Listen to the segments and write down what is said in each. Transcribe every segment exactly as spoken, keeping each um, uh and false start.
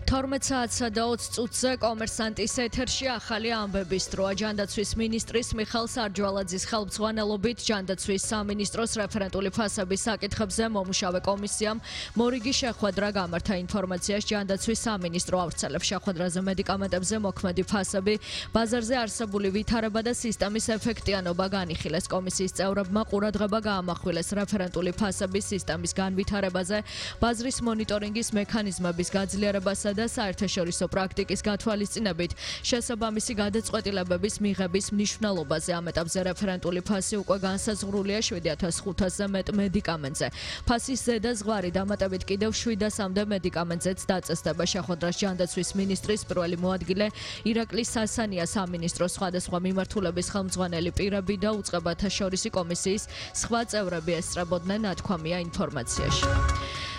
თორმეტ საათსა და ოცი წუთზე კომერსანტის ეთერში ახალი ამბების დროა. ჯანდაცვის მინისტრის მიხეილ სარჯვალაძის ხელმძღვანელობით ჯანდაცვის სამინისტროს რეფერენტული ფასების საკითხებზე მომუშავე კომისიამ მორიგი შეხვედრა გამართა. ინფორმაციას ჯანდაცვის სამინისტრო ავრცელებს. შეხვედრაზე მედიკამენტებზე მოქმედი ფასები, ბაზარზე არსებული ვითარება და სისტემის ეფექტიანობა განიხილეს. კომისიის წევრებმა ყურადღება გაამახვილეს რეფერენტული ფასების სისტემის განვითარებაზე, ბაზრის მონიტორინგის მექანიზმების გაძლიერებასა და საერთაშორისო პრაქტიკის გათვალისწინებით შესაბამისი გადაწყვეტილებების მიღების მნიშვნელობაზე. ამ ეტაპზე რეფერენტული ფასი უკვე განსაზღვრულია შვიდ ათას ხუთასზე მეტ მედიკამენტზე. ფასის ზედა ზღვარი დამატებით კიდევ შვიდასამდე მედიკამენტზეც დაწესდება. შეხვედრას ჯანდაცვის მინისტრის პირველი მოადგილე ირაკლი სასანია, სამინისტროს სხვადასხვა მიმართულების ხელმძღვანელი პირები და უწყებათა შორისი კომისიის სხვა წევრები ესწრებოდნენ, ნათქვამია ინფორმაციაში.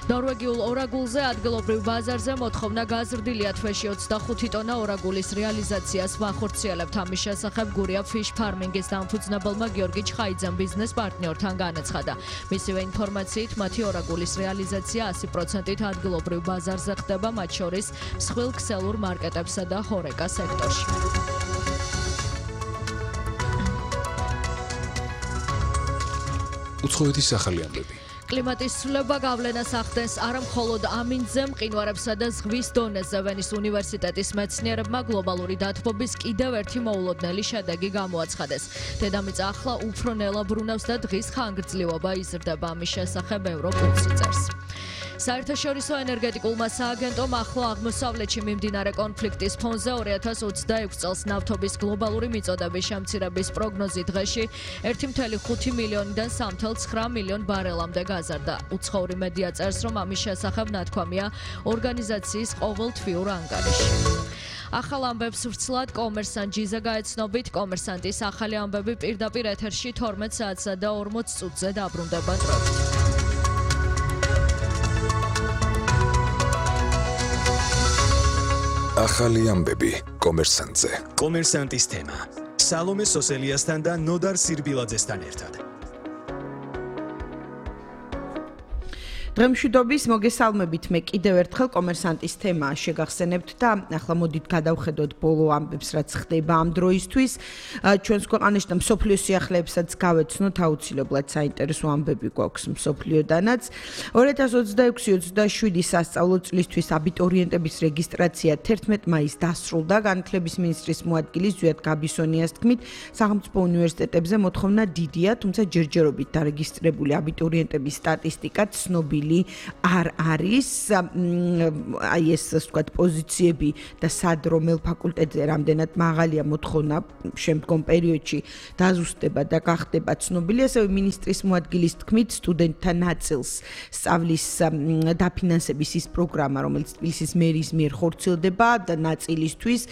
ნორვეგიულ ორაგულზე ადგილობრივ ბაზარზე მოთხოვნა გაზრდილია. თვეში ოცდახუთი ტონა ორაგულის რეალიზაციას ვახორციელებთ. ამის შესახებ გურია ფიშ ფარმინგის დამფუძნებელმა გიორგი ჩხაიძემ ბიზნეს პარტნიორთან განაცხადა. მისივე ინფორმაციით, მათი ორაგულის რეალიზაცია ასი პროცენტით ადგილობრივ ბაზარზე ხდება, მათ შორის მსხვილ ქსელურ მარკეტებსა და ჰორეკა სექტორში. უცხოეთის ახალი ამბები. კლიმატის ცვლილება გავლენას ახდენს არა მხოლოდ ამინდზე, მყინვარებსა და ზღვის დონეზე. ვენის უნივერსიტეტის მეცნიერებმა გლობალური დათბობის კიდევ ერთი მოულოდნელი შედეგი გამოაცხადეს. დედამიწა ახლა უფრო ნელა ბრუნავს და დღის ხანგრძლივობა იზრდება. ამის შესახებ ევროპულსი წერს. საერთაშორისო ენერგეტიკულმა სააგენტომ ახლო აღმოსავლეთში მიმდინარე კონფლიქტის ფონზე ორი ათას ოცდაექვსი წელს ნავთობის გლობალური მიწოდების შემცირების პროგნოზი დღეში ერთი წუთი ხუთი მილიონიდან სამი წუთი ცხრა მილიონ ბარელამდე გაზარდა. უცხოური მედია წერს, რომ ამის შესახებ ნათქვამია ორგანიზაციის ყოველთვიურ ანგარიში. ახალ ამბებს ვრცლად კომერსანტ ჯიზა გაეცნობით. კომერსანტის ახალი ამბები პირდაპირ ეთერში თორმეტ საათსა და ორმოც წუთზე დაბრუნდება დროებით. ახალი ამბები კომერსანტზე. კომერსანტის თემა სალომე სოსელიასთან და ნოდარ სირბილაძესთან ერთად. დღემშვიდობის მოგესალმებით. მე კიდევ ერთხელ კომერსანტის თემა შეგახსენებთ და ახლა მოდით გადავხედოთ ბოლო ამბებს, რაც ხდება ამ დროისთვის. ჩვენს ქვეყანაში და მსოფლიო სიახლეებსაც გავეცნოთ, აუცილებლად საინტერესო ამბები გვაქვს მსოფლიოდანაც. ორი ათას ოცდაექვსი ოცდაშვიდი სასწავლო წლისთვის აბიტურიენტების რეგისტრაცია თერთმეტ მაისს დასრულდა. განათლების მინისტრის მოადგილის ზვიად გაბისონიას თქმით, სახელმწიფო უნივერსიტეტებზე მოთხოვნა დიდია, თუმცა ჯერჯერობით დარეგისტრირებული აბიტურიენტების სტატისტიკა ცნობილი არ არის. აი ეს ასე ვთქვათ პოზიციები და სად რომელ ფაკულტეტზე რამდენად მაღალია მოთხოვნა შემდგომ პერიოდში დაზუსტება და გახდება ცნობილი. ასევე მინისტრის მოადგილის თქმით, სტუდენტთა ნაწილს სწავლის დაფინანსების ის პროგრამა, რომელიც თბილისის მერის მიერ ხორციელდება და ნაწილისთვის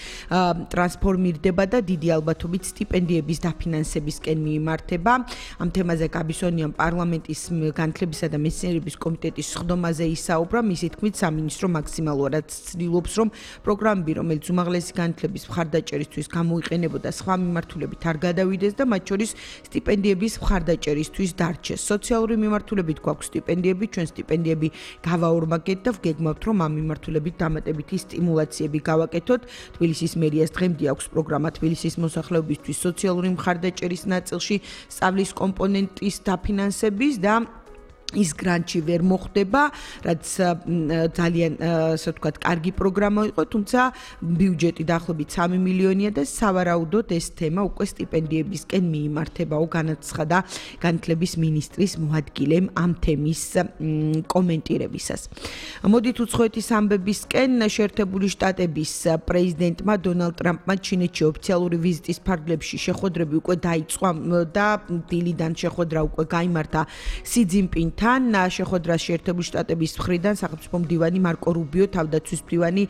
ტრანსფორმირდება და დიდი ალბათობით სტიპენდიების დაფინანსებისკენ მიიმართება. ამ თემაზე გაბისონიამ პარლამენტის განათლებისა და მეცნიერების კომიტეტის სხდომაზე ისაუბრა. მისი თქმით, სამინისტრო მაქსიმალურად ცდილობს, რომ პროგრამები, რომელიც უმაღლესი განათლების მხარდაჭერისთვის გამოიყენებოდა, სხვა მიმართულებით არ გადავიდეს და მათ შორის სტიპენდიების მხარდაჭერისთვის დარჩეს. სოციალური მიმართულებით გვაქვს სტიპენდიები, ჩვენ სტიპენდიები გავაორმაგეთ და ვგეგმავთ, რომ ამ მიმართულებით დამატებითი სტიმულაციები გავაკეთოთ. თბილისის მერიას დღემდე აქვს პროგრამა თბილისის მოსახლეობისთვის სოციალური მხარდაჭერის ნაწილში სწავლის კომპონენტის დაფინანსების და ის გრანტი ვერ მოხდება, რაც ძალიან ასე ვთქვათ, კარგი პროგრამა იყო, თუმცა ბიუჯეტი დაახლოებით სამი მილიონია და სავარაუდოდ ეს თემა უკვე სტიპენდიებისკენ მიიმართებაო, განაცხადა განათლების მინისტრის მოადგილემ ამ თემის კომენტირებისას. მოდით უცხოეთის ამბებისკენ. შეერთებული შტატების პრეზიდენტმა დონალდ ტრამპმა ჩინეთში ოფიციალური ვიზიტის ფარგლებში შეხვედრები უკვე დაიწყო და დილიდან შეხვედრა უკვე გაიმართა სი ძინპინთან. შეხვედრას შეერთებული შტატების მხრიდან სახელმწიფო მდივანი მარკო რუბიო, თავდაცვის მდივანი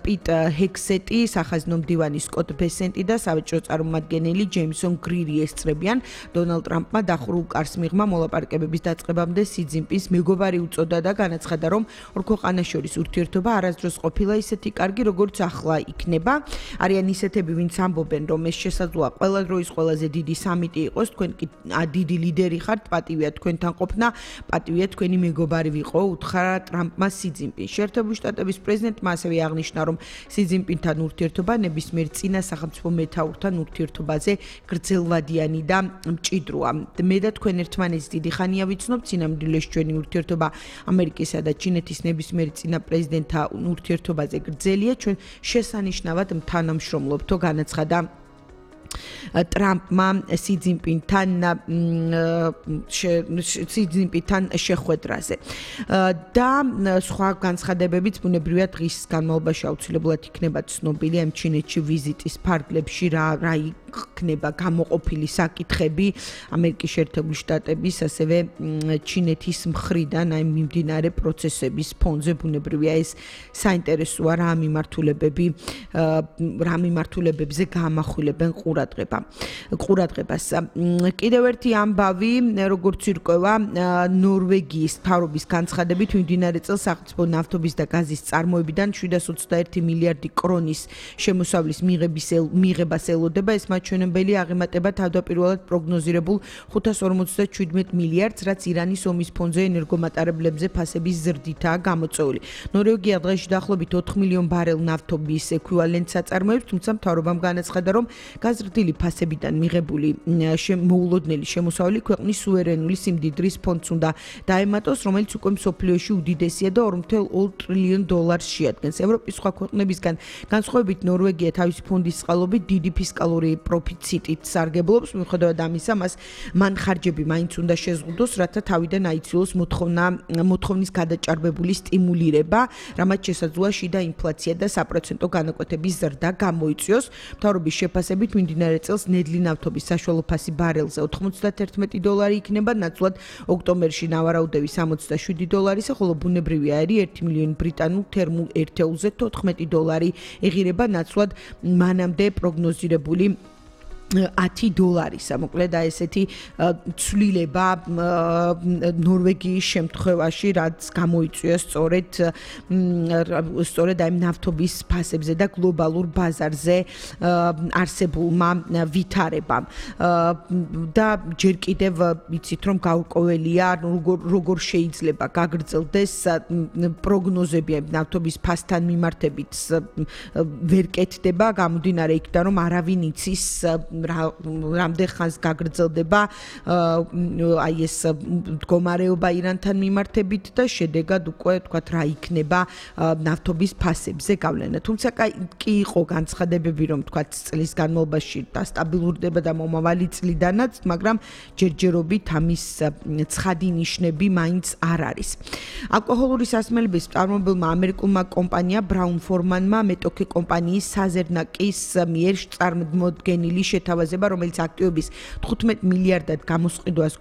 პიტ ჰექსეტი, სახაზინო მდივანი სკოტ ბესენტი და სავაჭრო წარმომადგენელი ჯეიმსონ გრირი ესწრებიან. დონალდ ტრამპმა დახურულ კარს მიღმა მოლაპარაკებების დაწყებამდე სი ძინპინს მეგობარი უწოდა და განაცხადა, რომ ორ ქვეყანას შორის ურთიერთობა არასდროს ყოფილა ისეთი კარგი, როგორც ახლა იქნება. არიან ისეთები, ვინც ამბობენ, რომ ეს შესაძლოა ყველა დროის ყველაზე დიდი სამიტი იყოს. თქვენ კი დიდი ლიდერი ხართ, პატივია თქვენთან ყოფნა. გაიხსნა, პატივია თქვენი მეგობარი ვიყო, უთხრა ტრამპმა სი ძინპინს. შეერთებული შტატების პრეზიდენტმა ასევე აღნიშნა, რომ სი ძინპინთან ურთიერთობა ნებისმიერ წინა სახელმწიფო მეთაურთან ურთიერთობაზე გრძელვადიანი და მჭიდროა. მე და თქვენ ერთმანეთს დიდი ხანია ვიცნობთ, წინამძღოლში ჩვენი ურთიერთობა ამერიკისა და ჩინეთის ნებისმიერ წინა პრეზიდენტთან ურთიერთობაზე გრძელია, ჩვენ შესანიშნავად თანამშრომლობთო, განაცხადა ტრამპმა სი ძინპინთან სი ძინპინთან შეხვედრაზე და სხვა განცხადებებიც ბუნებრივია დღის განმავლობაში აუცილებლად იქნება ცნობილი ამ ჩინეთში ვიზიტის ფარგლებში რა რა იქნება გამოყოფილი საკითხები ამერიკის შეერთებული შტატების ასევე ჩინეთის მხრიდან აი მიმდინარე პროცესების ფონზე ბუნებრივია ეს საინტერესოა რა მიმართულებები რა მიმართულებებზე გამახვილებენ ყურადღება ყურადღებას კიდევ ერთი ამბავი როგორც ირკვევა ნორვეგიის მთავრობის განცხადებით მიმდინარე წელს სახელმწიფო ნავთობის და გაზის წარმოებიდან შვიდას ოცდაერთი მილიარდი კრონის შემოსავლის მიღების მიღებას ელოდება ეს მაჩვენებელი აღემატება თავდაპირველად პროგნოზირებულ ხუთას ორმოცდაშვიდ მილიარდს რაც ირანის ომის ფონზე ენერგომატარებლებზე ფასების ზრდითაა გამოწვეული ნორვეგია დღეში დაახლოებით ოთხ მილიონ ბარელ ნავთობის ეკვივალენტს აწარმოებს თუმცა მთავრობამ განაცხადა რომ გაზრდილი ფასებიდან მიღებული მოულოდნელი შემოსავალი ქვეყნის სუვერენული სიმდიდრის ფონდს უნდა დაემატოს, რომელიც უკვე მსოფლიოში უდიდესია და ორი წუთი ორი ტრილიონ დოლარს შეადგენს. ევროპის სხვა ქვეყნებისგან განსხვავებით ნორვეგია თავისი ფონდის წყალობით დიდი ფისკალური პროფიციტით სარგებლობს, მიუხედავად ამისა, მას მან ხარჯები მაინც უნდა შეზღუდოს, რათა თავიდან აიცილოს მოთხოვნა მოთხოვნის გადაჭარბებული სტიმულირება, რამაც შესაძლოა შიდა ინფლაცია და საპროცენტო განაკვეთების ზრდა გამოიწვიოს. მთავრობის შეფასებით მიმდინარე წელს ნედლი ნავთობის საშუალო ფასი ბარელზე ოთხმოცდათერთმეტი დოლარი იქნება, ნაცვლად ოქტომბერში ნავარაუდები სამოცდაშვიდი დოლარისა, ხოლო ბუნებრივი აირი ერთი მილიონი ბრიტანულ თერმულ ერთეულზე თოთხმეტი დოლარი ეღირება, ნაცვლად მანამდე პროგნოზირებული ათი დოლარისა. მოკლედ აი ესეთი ცვლილება ნორვეგიის შემთხვევაში, რაც გამოიწვია სწორედ სწორედ აი ნავთობის ფასებზე და გლობალურ ბაზარზე არსებულმა ვითარებამ. და ჯერ კიდევ ვიცით რომ გაურკვეველია როგორ როგორ შეიძლება გაგრძელდეს პროგნოზები ნავთობის ფასთან მიმართებით ვერ კეთდება, გამომდინარე იქიდან რომ არავინ იცის რამდენ ხანს გაგრძელდება აი ეს მდგომარეობა ირანთან მიმართებით და შედეგად უკვე თქვათ რა იქნება ნავთობის ფასებზე გავლენა. თუმცა კი იყო განცხადებები რომ თქვათ წლის განმავლობაში დასტაბილურდება და მომავალი წლიდანაც, მაგრამ ჯერჯერობით ამის ცხადი ნიშნები მაინც არ არის. ალკოჰოლური სასმელების მწარმოებელმა ამერიკულმა კომპანია Brown Forman-მა მეტოქე კომპანიის საზერნაკის მიერ წარმოდგენილი შეთავაზება, რომელიც აქტივების თხუთმეტ მილიარდად გამოსყიდვას